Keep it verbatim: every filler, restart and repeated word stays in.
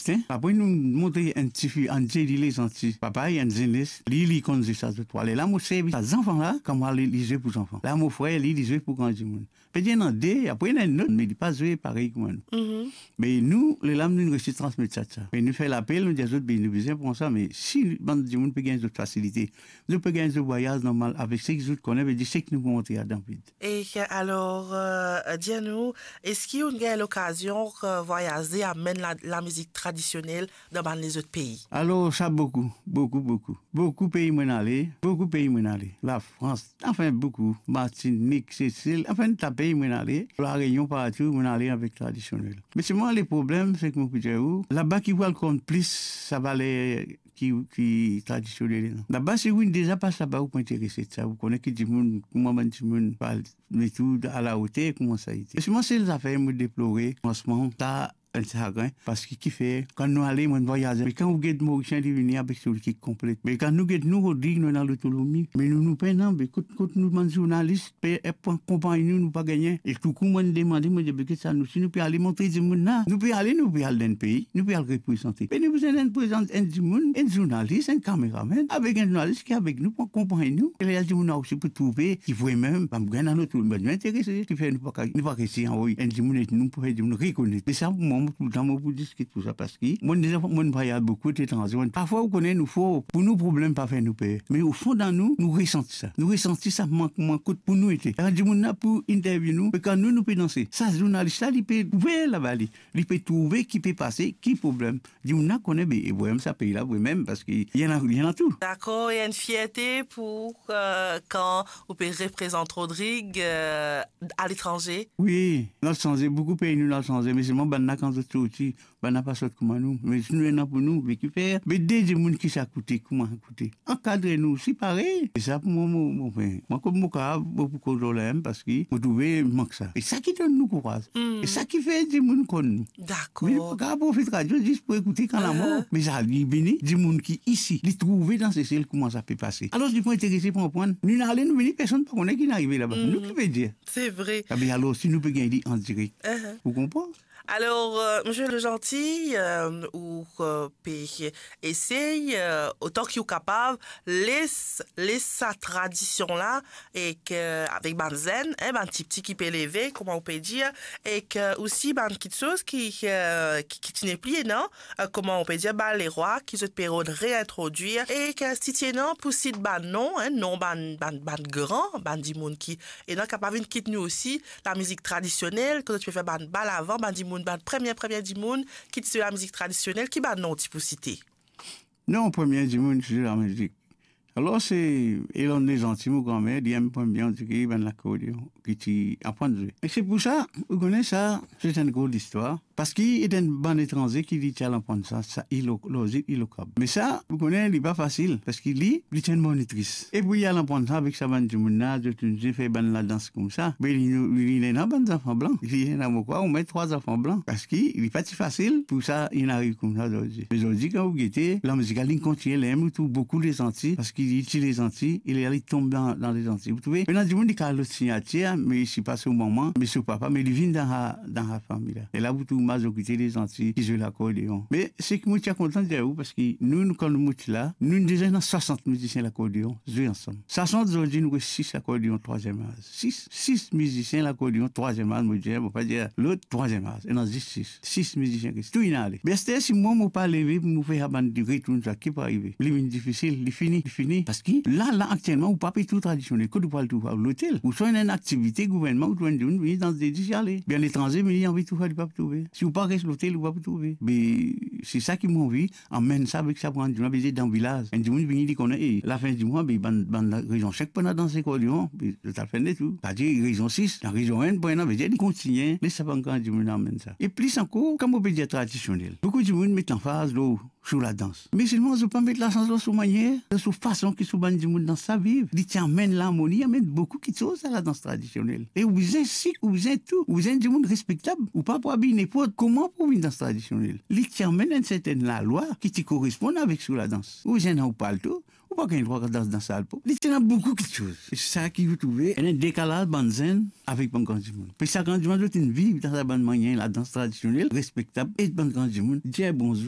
Te, apre nou montre enn tifi, enn ti li, li santi, papa, li enn zenes, li, li konn zis sa zot twa. Lerla mo servi sa zanfan la, kouma li, li zwe pou zanfan. La mo frer, li, li zwe pou gran dimoun. Pe dir ena de, apre ena enn lot, me li pa zwe parey kouma nou. Me nou, lerla nou resi transmet sa, sa. Me nou fer lapel, nou dir zot, be nou bizin pran sa, me si bann dimoun pe gagn zot fasilite, zot pe gagn zot vwayaz normal avek seki zot kone, be dir seki nou pou montre adan vid. E alor, euh, dir nou, eski ou'nn gagn lokazion, euh, vwayaze, amenn la, lamizik tradisionel dan bann lezot pei? Alor, sa boukou, boukou, boukou. Boukou pei mo'nn ale, boukou pei mo'nn ale. Lafrans, anfin boukou, Martinik, Sesel, anfin ta pei mo'nn ale, La Reynion partou, mo'nn ale avek tradisionel. Me selman leproblem, seki mo pou dir ou, laba ki pou al konn plis sa valer ki, ki tradisionel la. Laba, si ou'nn deza pas laba, ou pou interese sa, ou kone ki dimoun, kouma bann dimoun pale, me tou alaoter kouma sa ete. Me selman sel zafer mo deplore, fransman, sa enn sagrin, parski kifer, kan nou ale, mo'nn vwayaze, me kan ou get Morisien, li vini avek so lekip konplet. Me kan nou get nou, Rodrig, nou ena lotolomi. Me nou, nou pena, be kot, kot nou bann zournalis, pe, e, pou akonpagn nou, nou pa gagne. E toukou mo'nn demande, mo dir, be get sa, nou, si nou pe ale montre dimoun la, nou pe ale, nou pe al dan enn pei, nou pe al reprezante. Me nou bizin enn prezant, enn dimoun, enn zournalis, enn kameramenn, avek enn zournalis ki avek nou pou akonpagn nou. E la dimoun la osi pou trouve ki vremem, bann gagn dan lotolomi, bann nou interese, kifer nou pa ka, nou pa resi anvoy enn dimoun et nou pou fer dimoun rekonet. E sa, pou mwa, mo toultan, mo pou diskit pou sa, parski mo'nn deza, mo'nn vwayaz boukou letranze. Mo'nn, parfwa, ou kone, nou for, pou nou, problem pa fer nou per. Me ofon dan nou, nou resanti sa. Nou resanti sa, mank, mank kot pou nou ete. Kan dimoun la pou interview nou, me kan nou, nou pe danse, sa zournalis la, li pe ouver laba li. Li pe trouve ki pe pase, ki problem. Dimoun la kone, be, e vremem sa pei la, vremem, parski li ena, li ena tou. Dakor, e enn fierte pou, euh, kan ou pe reprezant Rodrig, euh, aletranze? Wi, nou al sanze, boukou pei nou, nou al sanze, me selman bann la kan zot sorti, bann la pa sot kouma nou, me si nou ena pou nou, be kifer, be de dimoun ki sa koute, kouma koute. Ankadre nou osi parey. E sa pou mwa, mo, mo, mo, mwa, kouma mo kapav, mo pou koz lor la mem, parski mo trouve mank sa. E sa ki donn nou kouraz. E sa ki fer dimoun konn nou. Dakor. Me li pa kapav profit radio zis pou ekoute kan lamor. Me sa, li vini, dimoun ki isi, li trouve dan Sesel kouma sa pe pase. Alor, li pou interese pou aprann. Nou ale, nou vini, personn pa kone ki inn arive laba. Nou ki pe dir. Se vre. Abe, alor, si nou pe gagn li an direk. Ou konpran? Alor, euh, Misie Legentil, euh, ou, euh, pe esey, euh, otan ki ou kapav, les, les sa tradision la, ek, euh, avek bann zenn, hein, bann tipti ki pe leve, kouma ou pe dir, ek, euh, osi bann kiksoz ki, euh, ki, ki ti nepli, non? Euh, kouma ou pe dir, bann lerwa ki zot pe rod reintrodwir, ek, euh, si ti ena pou sit bann non, hein, non bann, bann, bann gran, bann dimoun ki, e non, kapav vinn kit nou osi, lamizik tradisionel, kot zot ti pe fer bann bal avan, bann dimoun, bann premie, premie dimoun ki ti zwe lamizik tradisionel, ki bann non ti pou site? Non, premie dimoun ki ti zwe lamizik. Alor, se Elonn Lezanti, mo granmer, li enn premie, on dire, bann lakordeon, ki ti aprann zwe. E se pou sa, ou kone sa, se enn gro listwar. Parski li ti enn bann etranze ki li ti al aprann sa, sa ilo-, lor zil Ilokab. Me sa, ou kone, li pa fasil, parski li, li ti enn monitris. E pou li al aprann sa avek sa bann dimoun la, zot inn fer bann ladans koumsa. Me li, li, li ena bann zanfan blan. Li ena, mo krwar, omwin trwa zanfan blan. Parski li pa ti fasil pou sa inn ariv koumsa zordi. Me zordi, kan ou gete, lamizik la, li kontigne, li mem, ou trouv boukou Lezanti, parski li ti Lezanti, e li, li tonm dan, dan Lezanti. Ou trouve? Ena dimoun ki al lot signatir, me si pa so manman, me so papa, me li vinn dan sa, dan sa fami la. E la, ou trouv mazorite Lezanti ki zwe lakordeon. Me seki mo ti a kontan dir ou, parski nou, nou, kan nou ti la, nou deza ena swasant mizisien lakordeon zwe ansam. Swasant, zordi nou res sis lakordeon trwaziem az. Sis, sis mizisien lakordeon trwaziem az, mo dir, mo pa dir lot, trwaziem az. Ena zis sis. Sis mizisien ki tou inn ale. Be aster, si mwa mo pa leve pou mo fer sa bann dimoun retourn sa, ki pou arive? Li vinn difisil, li fini, li fini. Parski la, la, aktielman, ou pa pe trouv tradisionel. Kot ou pou al trouv? Lotel. Ouswa ena enn aktivite gouvernman, ou trouv enn dimoun vini dan zedi, ale. Be letranze vini, li anvi trouv sa, li pa pou trouve. Si ou pa res lotel, ou pa pou trouve. Be se sa ki mo anvi, amenn sa avek sa pou enn dimoun, be dan vilaz. Enn dimoun vini, li kone, e, lafin di mwa, be bann, bann la, rezion sink pou ena dans lakordeon, be zot al fer de tou. Savedir rezion sis, dan rezion enn pou ena, vedir li kontigne, les sa bann gran dimoun amenn sa. E plis ankor, kan mo pe dir tradisionel, boukou dimoun met lanfaz lor, sou ladans. Me selman zot pa met lanfaz lor so manier, lor so fason ki so bann dimoun dans sa viv. Li ti amenn larmoni, amenn boukou kiksoz a ladans tradisionel. E ou bizin sik, ou bizin tou, ou bizin dimoun respektab. Ou pa pou abiy ninport kouma pou vinn dans tradisionel. Li ti amenn enn sertenn lalwa ki ti koresponn avek so ladans. Ou bizin ena ou palto, ou pa gagn drwa dans dan sal pop. Li ti ena boukou kiksoz. E sa ki ou trouve, ena dekalaz bann zenn avek bann gran dimoun. Pe sa gran dimoun zot inn viv dan sa bann manier ladans tradisionel, respektab, e bann gran dimoun dir bonzour.